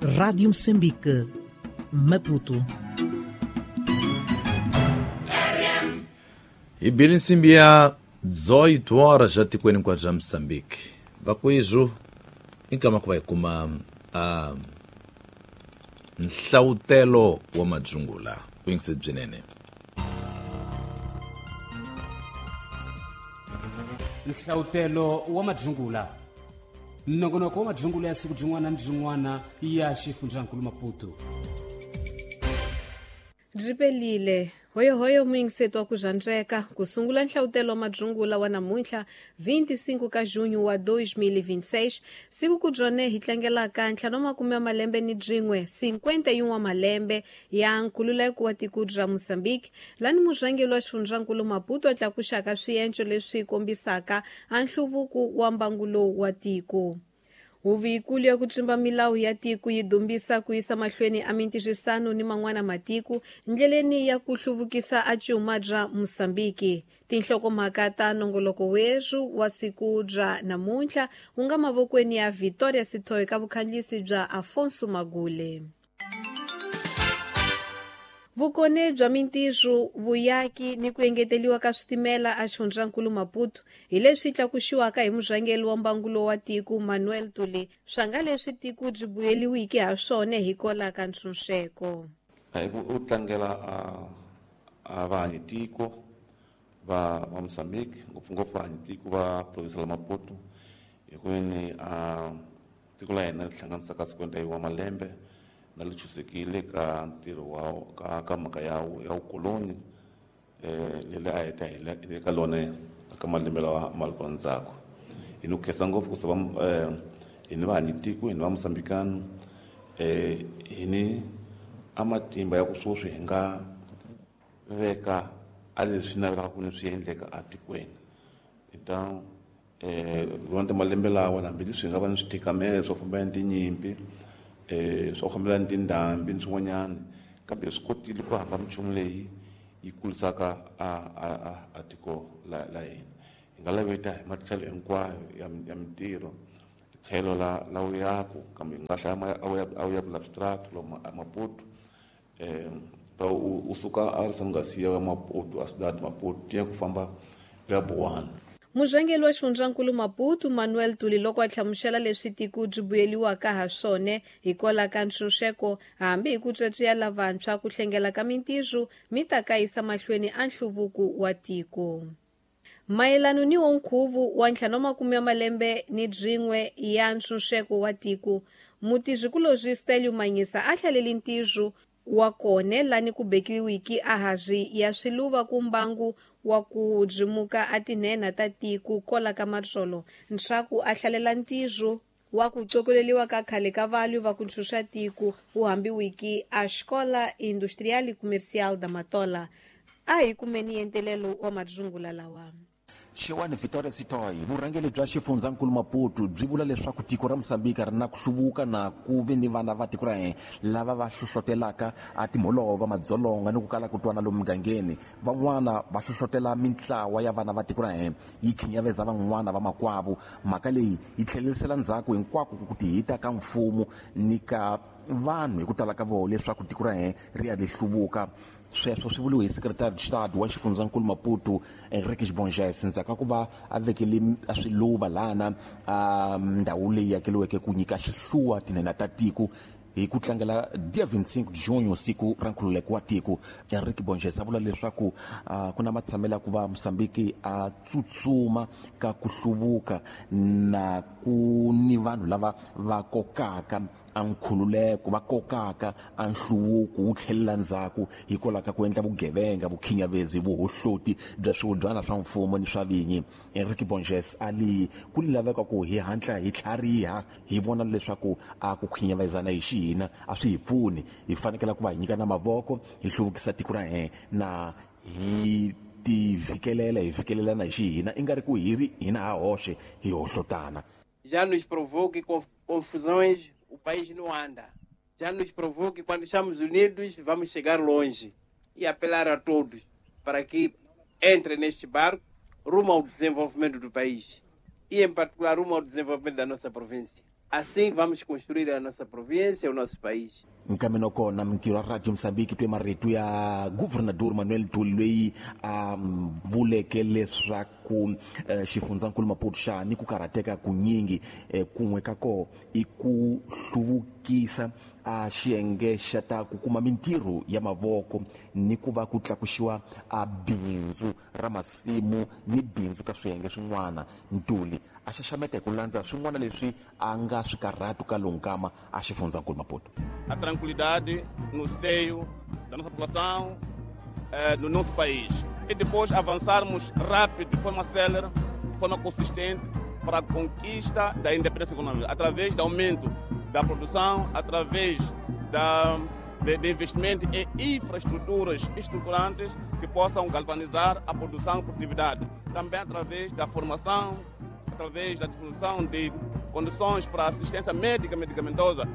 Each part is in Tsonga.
Rádio Moçambique, Maputo. Ibili nsimbi ya 18 horas já tikweni hinkwabyo bya Moçambique. Vakwizu inkama ku va hi kuma nhlawutelo wa madzungula vuyingisi byinene. Nhlawutelo wa madzungula, nongonoko wa madzungula ya siku byin'wana ni byin'wana ya xifundzankulu Maputo. Byi pelile hoyohoyo muyingiseti wa ku zhandzeka ku sungula nhlawutelo wa madzungula wa namuntlha 25 ka junho wa 2026, siku ku byone hi tlangelaka 51 wa malembe ni byin'we 51 wa malembe ya nkhululeko wa tiko ra Mozambique, lani murhangeri wa xifundzankulu Maputo a tlakuxaka swienco leswi kombisaka a nhluvuko wa mbangu lowu wa tiko. Huvo yikulu ya ku tsimba milawu ya tiko yi dumbisa ku yisa mahlweni a mintirhisano ni man'wana matiko ndleleni ya ku hluvukisa a cuma bya Mozambique. Tinhlokomhaka ta nongoloko werhu wa siku bya namuntlha wu nga mavokweni ya Victoria Sithoyi ka vukhandziyisi bya Afonso Magule. Vukone bya mintirho, vuyaki ni ku engeteliwa ka switimela a xifundzankulu Maputo hi leswi tlakuxiwaka hi murhangeri wa mbangulo wa tiko Manuel Tuli, swa nga leswi tiko byi buyeliwiki ha swona hi kola ka ntshunxeko. Hi ku tlangela a vahanyi tiko va Mozambique, ngopfungopfu vahanyi tiko va province la Maputo, hi ku ni a tiko la hina ri hlanganisaka 51 wa malembe na li chusekile ka ntirho wa ka mhaka ya vukoloni leri a heta hi ka lona ka malembe lawa ma ri kona ndzhaku. Hi ni ku khensa ngopfu ku sava hi ni vahanyi tiko, hi ni va Mozambikano, hi ni a matimba ya ku sweswi hi nga veka a leswi navelaka ku ni swi endleka atikweni. Hi ta lona malembe lawa hambileswi hi nga va ni swithikamelo swo fambelana ni tinyimpi, swo fambelana ni tindhambi ni swin'wanyana, kambe swi kotile ku hamba minchumu leyi yi kurisaka a tiko la hina. Hi nga laveta hi matlhelo hinkwayo ya mintirho, tlhelo la vuyaku, kambe hi nga hlaya a vuyaku la switrato lomu Maputo, u suka a ri Sangasiya ya Maputo a Cidade Maputo tiya ku famba ya Buwana. Murhangeri wa xifundzankulu Maputo Manuel Tuli loko a hlamusela leswi tiko byi buyeliwaka ha swona hi kola ka ntshunxeko, hambi hi ku tswatswiya lavantshwa ku hlengela ka mintirho mi ta ka yisa mahlweni a nhluvuko wa tiko. Mayelano ni wo nkhuvu wa 50 wa malembe ni byin'we ya ntshunxeko wa tiko, mutirhikulobye Stelio Manyisa a hlaleli ntirho wa kone lani ku bekiwiki a hazwi ya swiluva ku mbangu wa ku byimuka a tinhenha ta tiko kola ka matsolo, ntshaku a hlalela ntirho wa ku cokoleliwa ka khale ka valwi va ku ntshunxa tiko wu hambiwiki a Escola Industrial e Comercial da Matola. A hi kumeni yentelelo wa madzungula lawa. Xewani Victoria Sithoyi, vurhangeri bya xifundzankulu Maputo byi vula leswaku tiko ra Mozambique ri na ku hluvuka na ku vi ni vana va tiko ra hina lava va hlohlotelaka a timholova, madzolonga ni ku kala ku twana lomu mugangeni. Van'wana va hlohlotela mintlawa ya vana va tiko ra hina yi khinyaveza van'wana va makwavo. Mhaka leyi yi tlhelerisela ndzhaku hinkwako ku tihita ka mfumo ni ka vanhu hi ku tala ka vona leswaku tiko ra hina ri ya ri hluvuka. Sweswo swi vuriwe hi secretary de wa xifundzankulu Maputo Henriques Bonges ndzhaku ka ku va a vekele a swiluva lana a ndhawu leyi akeriweke ku nyika xihluwa tinhenha ta tiko hi ku tlangela dia 25 junho, siku ra nkhululeko wa tiko. Henrique Bonges a vula leswaku ku na matshamelo ya ku va Mozambique a tsutsuma ka ku hluvuka na ku ni vanhu lava va kokaka a nkhululeko, va kokaka a nhluvuko wu tlhelela ndzhaku hikwalaho ka ku endla vugevenga, vukhinyavezi, vuhohloti bya swihudyana swa mfumo ni swa vinyi. Henrique Bonges a li ku laveka ku hi hatla hi tlhariha hi vona leswaku a ku khinyavezana hi xihina a swi hi pfuni, hi fanekele ku va hi nyikana mavoko hi hluvukisa tiko ra hina na hi tivhikelela hi fikelelana hi xihina, i nga ri ku hi ri hina ha hoxe hi hohlotana. Já nos provou que confusões o país não anda. Já nos provou que quando estamos unidos vamos chegar longe. E apelar a todos para que entrem neste barco rumo ao desenvolvimento do país e, em particular, rumo ao desenvolvimento da nossa província. Assim vamos construir a nossa província, o nosso país. Nkameno kona mintirho ya Radio Mozambique twe marito ya Governador Manuel Tuli loyi a vuleke leswaku xifundzankulu Maputo xa ni ku karhateka kunyingi kun'we ka koho i ku hluvukisa a xiyenge xa ta ku kuma mintirho ya mavoko ni ku va ku tlakuxiwa a bindzu ra masimu ni bindzu ka swiyenge swin'wana. Ntuli a xaxameta hi ku landza swin'wana leswi a nga swi karhatu ka lonkama a xifundzankulu Maputo. A tranquilidade no seio da nossa população, no nosso país. E depois avançarmos rápido, de forma célere, de forma consistente, para a conquista da independência econômica, através do aumento da produção, através de investimento em infraestruturas estruturantes que possam galvanizar a produção e produtividade. Também através da formação, através da distribuição de condições para assistência médica medicamentosa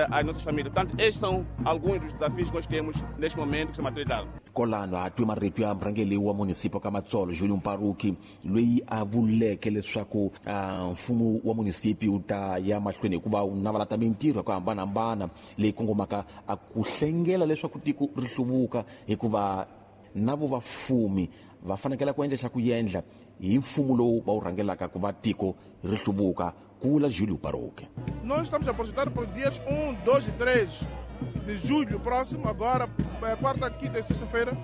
às nossas famílias. Portanto, estes são alguns dos desafios que nós temos neste momento que se materializam. Kolano a twe marito ya murhangeri wa munisipio ka Matsolo Julio Mparuki loyi a vuleke leswaku mfumo wa munisipi wu ta ya mahlweni hikuva wu navala ta mintirho ya ku hambanahambana leyi kongomaka a ku hlengela leswaku tiko ri hluvuka, hikuva na vo vafumi va fanekele ku endla xa ku endla hi mfumo lowu va wu rhangelaka ku va tiko ri hluvuka, ku vula Julio Mparuki. Nós estamos a projetar para os dias 1, 2 e 3 de julho próximo, agora, quarta, quinta e sexta-feira,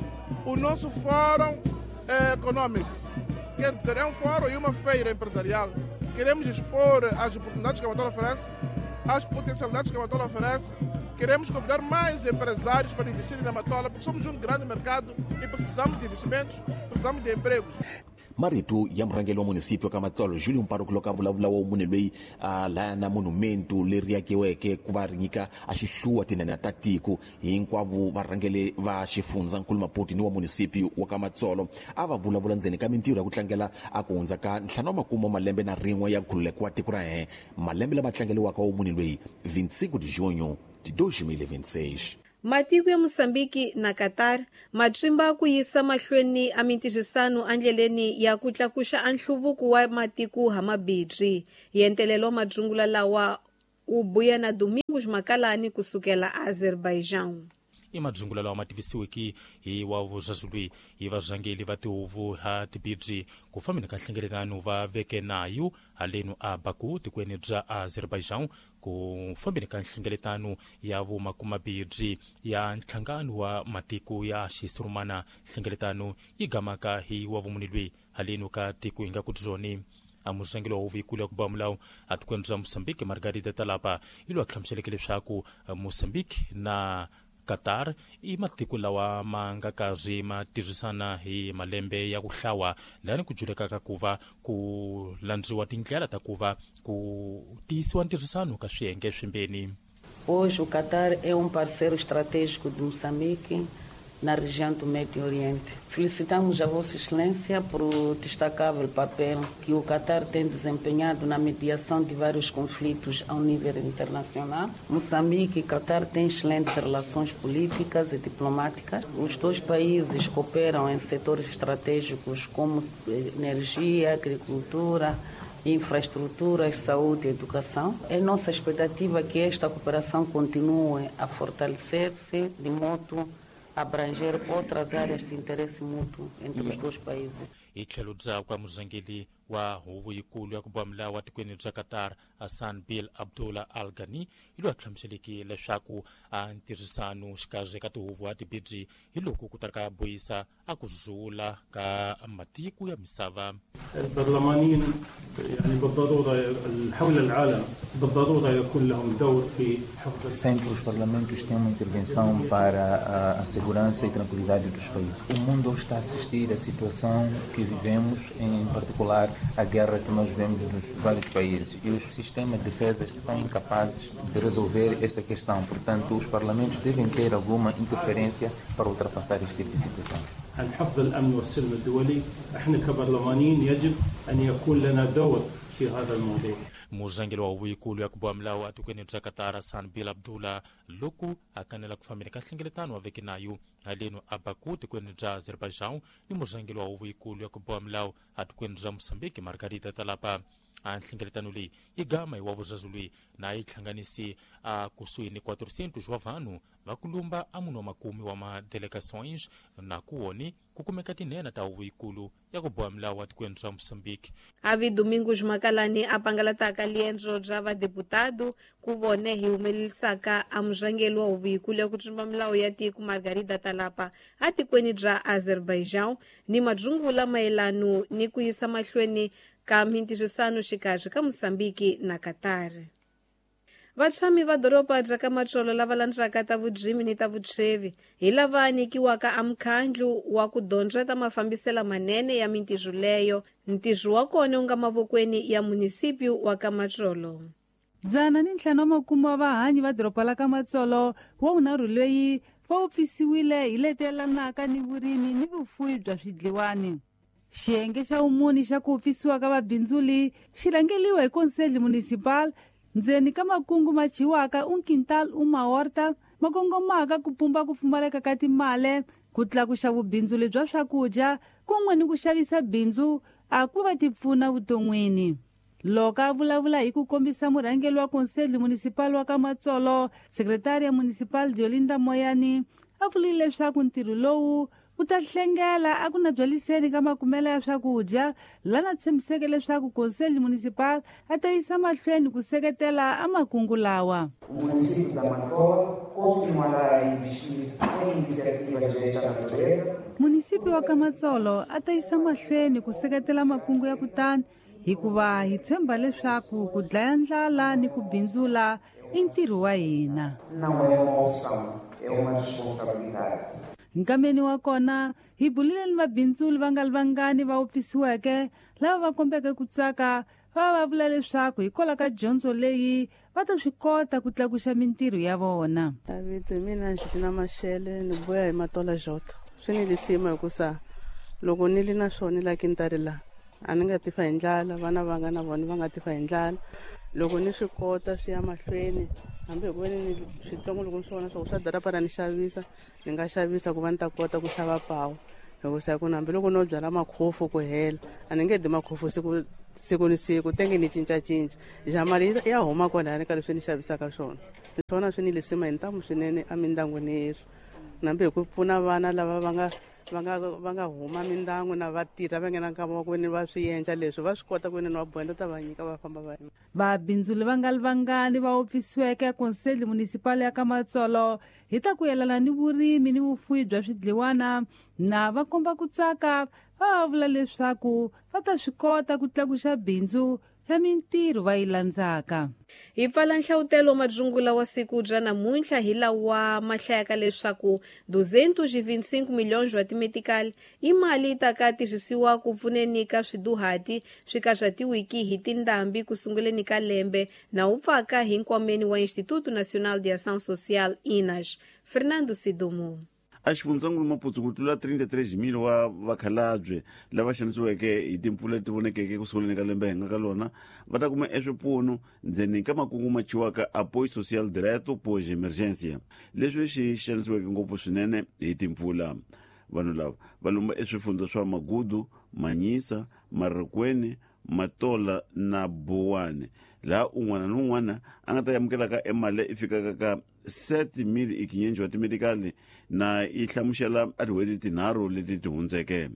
o nosso fórum econômico. Quer dizer, é um fórum e uma feira empresarial. Queremos expor as oportunidades que a Matola oferece, as potencialidades que a Matola oferece. Queremos convidar mais empresários para investirem na Matola, porque somos um grande mercado e precisamos de investimentos, precisamos de empregos. Marito ya murhangeri wa munisipio ka Matsolo Julio Mparuki loko a vulavula wa munhu loyi a laya na monumento leri akiweke ku va ri nyika a xihluwa tinene ta tiko hinkwavo varhangeri va xifundzankulu Maputo ni wa munisipio wa ka Matsolo a va vulavula ndzeni ka mintirho ya ku tlangela a ku hundza ka 51 malembe na rin'we ya nkhululeko wa tiko ra hina, malembe lama tlangeliwaka wa munhu loyi 25 de junho de 2026. Matiko ya Mozambique na Qatar matrimba ku yisa mahlweni a mintirhisano endleleni ya ku tlakuxa a nhluvuko wa matiko hamabirhi. Yentelelo madzungula lawa u buya na Domingos Makalani kusukela Azerbaijan. I madzungula lawa ma tivisiweke hi wa vuzazulwi hi varhangeri va tihuvo ha tibirhi ku fambeni ka nhlengeletano va veke nayo haleno a Baku tikweni bya Azerbaijan ku fambeni ka nhlengeletano ya vumakumabirhi ya nhlangano wa matiko ya xisurumana. Nhlengeletano yi gamaka hi wa vumunilwi haleno ka tiko hi nga ku byoni. A murhangeri wa huvo yikulu ya ku ba milawu atikweni bya Mozambique Margarida Talapa yi lwa hlamuseleke leswaku Mozambique na Qatar i matiko lawa ma nga karhi ma tirhisana hi malembe ya ku hlawa lani ku julekaka ku va ku landziwa tindlela ta ku va ku tiyisiwa ntirhisano ka swiyenge swimbeni. Hoje o Qatar é parceiro estratégico de Moçambique na região do Médio Oriente. Felicitamos a Vossa Excelência por o destacável papel que o Qatar tem desempenhado na mediação de vários conflitos ao nível internacional. Moçambique e Qatar têm excelentes relações políticas e diplomáticas. Os dois países cooperam em setores estratégicos como energia, agricultura, infraestruturas, saúde e educação. É nossa expectativa que esta cooperação continue a fortalecer-se de modo abranger outras áreas de interesse mútuo entre os dois países. Hi tlhelo byakwe murhangeri wa huvo yikulu ya ku ba milawu wa tikweni bya Qatar Hassan Bin Abdullah Al Ghani hi loyi a hlamuseleke leswaku a ntirhisano xikarhi ka tihuvo a tibirhi hi loko ku ta ka boyisa a ku zula ka matiko ya misava. البرلمانيين يعني بالضرورة حول العالم بالضرورة يكون لهم دور في حفظ. Sempre os parlamentos têm uma intervenção para a segurança e tranquilidade dos países. O mundo está a assistir à situação que vivemos, em particular a guerra que nós vemos nos vários países, e os sistemas de defesa são incapazes de resolver esta questão. Portanto, os parlamentos devem ter alguma interferência para ultrapassar este tipo de situação. عن حفظ الأمن والسلم الدولي، احنا كبرلمانيين يجب أن يكون لنا دور في هذا الموضوع. Murhangeri wa huvo yikulu ya ku boha milawu atikweni bya Qatar Hassan Bin Abdullah loko a kanela ku fambeni ka nhlengeletano wa veke nayo haleno a Baku tikweni bya Azerbaijan ni murhangeri wa huvo yikulu ya ku boha milawu atikweni bya Mozambique Margarida Talapa. A nhlengeletano leyi yi gama hi wa vuzazulwi na yi hlanganisi a kusuhi ni 400 wa vanhu va kulumba a munhu wa makume wa madelegações na kuwoni ku kumeka tinhena ta huvo yikulu ya ku boha milawu wa tikweni ra Mozambique. Avi Domingos Makalani a pangalataka liendzo bya vadeputado ku vone hi humelelisaka a murhangeri wa huvo yikulu ya ku tsumba milawu ya tiko Margarida Talapa a tikweni bya Azerbaijan ni madzungula mayelano ni ku yisa mahlweni ka mintirhisano xikarhi ka Mozambique na Qatar. Vatshami va doroba bya ka Matsolo lava landzaka ta vurimi ni ta vutshwevi hi lava nyikiwaka a mukhandlu wa ku dyondza ta mafambiselo manene ya mintirho leyo. Ntirho wa kona wu nga mavokweni ya munisipyu wa ka Matsolo. 150 wa vahanyi va doroba la ka Matsolo wa vunharhu loyi va upfisiwile hi letelanaka ni vurimi ni vufuwi bya swidliwani. Xiyenge xa vumuni xa ku upfisiwa ka vabindzuli xi rhangeliwa hi Conselho Municipal ndzeni ka makungu ma dyiwaka un quintal uma horta ma kongomaka ku pumba ku pfumaleka ka timali, ku tlakuxa vubindzuli bya swakudya kun'we ni ku xavisa bindzu a ku va ti pfuna vuton'wini. Loko a vulavula hi ku kombisa murhangeri wa Conselho Municipal wa ka Matsolo, Secretaria Municipal Diolinda Moyani a vurile leswaku ntirho lowu wu ta hlengela a ku na byaliseni ka makumelo ya swakudya, lana tshembiseke leswaku Conselho Municipal a ta yisa mahlweni ku seketela a makungu lawa. O município da Matola continuará a investir em iniciativas desta natureza. Município wa ka Matsolo a ta yisa mahlweni ku seketela makungu ya kutani hikuva hi tshemba leswaku ku dlaya ndlala ni ku bindzula i ntirho wa hina. Não é uma opção, é uma responsabilidade. Nkameni wa kona hi bulile ni vabindzuli va nga ri vangani va upfisiweke lava va kombeke ku tsaka va vula leswaku hikwalaho ka dyondzo leyi va ta swi kota ku tlakuxa mintirho ya vona. Vito hi mina Angelina Mashele ni vuya hi Matola Jota. Swi ni lisima hikusa loko ni li na swona la kintari la a ni nga tifa hi ndlala, vana va nga na vona va nga tifa hi ndlala. Loko ni swi kota swi ya mahlweni hambi hi ku veni ni switsongo loko ni swi vona swa ku swa darapa ra ni xavisa, ni nga xavisa ku va ni ta kota ku xava pawu. Hikusa ku hambi loko no byala makhofu ku hela a ni nge di makhofu siku ni siku tenge ni cincacinca ja mali ya huma kwalani ka leswi ni xavisaka swona. Swona swi ni lisima hi ntamu swinene emindyangwini yesu, nambi hi ku pfuna vana lava va nga huma mindyangu na vatirha va nghena nkama wa ku veni va swi endla leswi va swi kota ku veni va bohenda ta va nyika va famba va. Vabindzuli va nga ri vangani va upfisiweke Conselho Municipal ya ka Matsolo hi ta ku yelana ni vurimi ni vufuwi bya swidliwana na va komba ku tsaka va vula leswaku va ta swi kota ku tlakuxa bindzu ya mintirho va yi landzaka. Hi pfala nhlavutelo madzungula wa siku bya namuntlha hi lawa ma hlayaka leswaku 225 milhões wa timetikali i mali yi ta ka tirhisiwa ku pfuneni ka swiduhati swi ka swa tiwiki hi tindhambi ku sunguleni ka lembe na wu pfaka hi nkwameni wa Instituto Nacional de Ação Social INAS. Fernando Sidumo. A xifundzankulu Maputo ku tlula 33,000 wa vakhalabye lava xanisiweke hi timpfula leti vonekeke ku sunguleni ka lembe hi nga ka lona va ta kuma eswipfuno ndzeni ka makungu ma chiwaka apoio social direto pós emergência, leswi swi xanisiweke ngopfu swinene hi timpfula. Vanhu lava va lomba eswifundza swa Magudu, Manyisa, Marikweni, Matola na Buwani, laha un'wana ni un'wana a nga ta amukelaka emali leyi fikaka ka 7,500 wa timedikali na yi hlamusela a tin'hweti tinharhu leti ti hundzeke.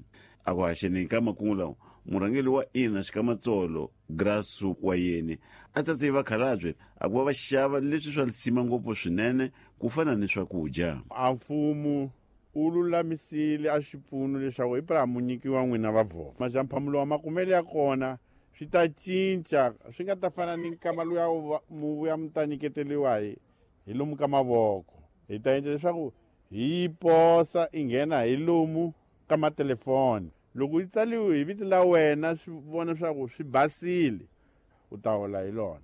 A ku haxeni ka makungu lawa, murhangeri wa INAS Kamatsolo Grasu wa yeni a tsatse vakhalabye a ku va va xava leswi swa lisima ngopfu swinene ku fana ni swakudya. A mfumo wu lulamisile a swipfuno leswaku hi pra mu nyikiwa n'wina va vhova majamphamulo wa makumelo ya kona swi ta cinca, swi nga ta fana ni nkama luya mu vuya mu ta nyiketeriwa hi lomu ka mavoko. Hi ta endla leswaku hi posa i nghena hi lomu ka matelefoni, loko yi tsaliwe hi vito la wena swi vona leswaku swi basile u ta hola hi lona.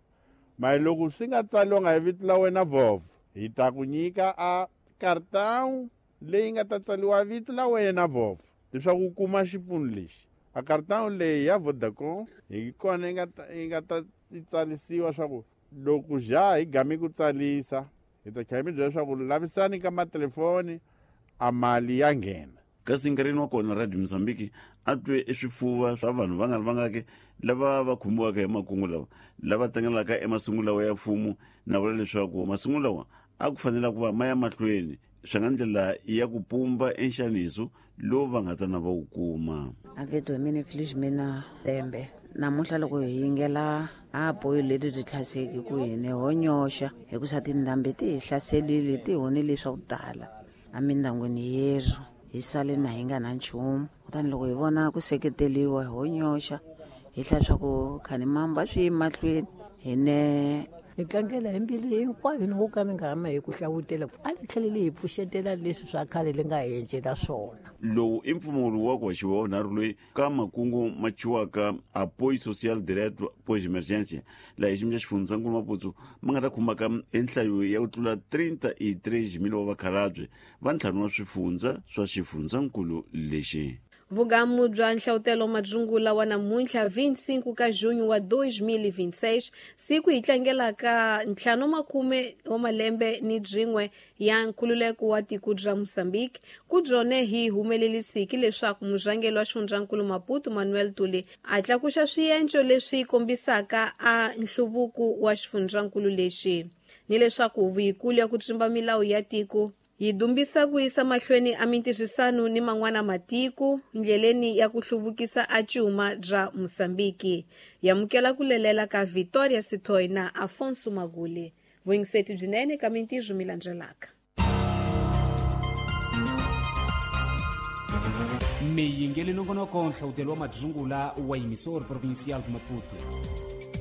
Mali loko swi nga tsaliwanga hi vito la wena vhovho, hi ta ku nyika a cartão leyi nga ta tsaliwa vito la wena vhovho leswaku u kuma xipfuno lexi. A cartão leyi ya Vodacom hi kona yi nga ta tsalisiwa swa ku loko ja hi gami ku tsalisa hi ta tlhela mi byela leswaku lavisani ka matelefoni a mali ya nghena. Kasi nkarhini wa kona Radio Mozambique a twe eswifuva swa vanhu va nga ri vangaki lava va khumbiwaka hi makungu lawa, lava tlangelaka emasungulo lawa ya mfumo, na vula leswaku masungulo lawa a ku fanela ku va ma ya mahlweni swi nga ndlela ya ku pumba enxaniso lowu va nga ta na va wu kuma. Aveto hi mina Felizmina lembe namuntlha loko hi yingela a boyo leti byi tlhaseki ku hini ho nyoxa hikusa tindhambi ti hi hlaselile, ti honile swa ku tala emindyangwini yerhu, hi sale na hi nga na nchumu. Kutani loko hi vona ku seketeliwa ho nyoxa, hi hlaya swa ku khanimamba swi yi mahlweni hi ne Ni tlangela hi mbilu hinkwayo, ni ngo ka mi nga hama hi ku hlavutela, a ni tlheleli hi pfuxetela leswi swa khale li nga hi encela swona. Lowu i mpfumawulo wa ku hoxiwa wa vunharhu loyi ka makungu ma thyiwaka Apoio Social Direto Pós Emergência, laha hi xiyimo xa xifundzankulu Maputo ma nga ta khumbaka enhlayo ya ku tlula 33 mil wa vakhalabye va ntlhanu wa swifundza swa xifundzankulu lexi. Vugamu bya nhlawutelo madzungula wa namuntlha 25 ka junho wa 2026, siku hi tlangelaka 50 wa malembe ni byin'we ya nkhululeko wa tiko bya Mozambique, ku byone hi humelelisiki leswaku murhangeri wa xifundzankulu Maputo Manuel Tuli a tlakuxa swienco leswi kombisaka a nhluvuko wa xifundzankulu lexi, ni leswaku huvo yikulu ya ku tsimba milawu ya tiko yi dumbisa ku yisa mahlweni a mintirhisano ni man'wana matiko ndleleni ya ku hluvukisa a cuma bya Mozambique. Yamukela ku lelela ka Victoria Sithoi na Afonso Magule. Vuyingiseti byinene ka mintirho mi landzelaka. Miyingeli nongonoko nhlawutelo wa madzungula wa Emissor Provincial de Maputo.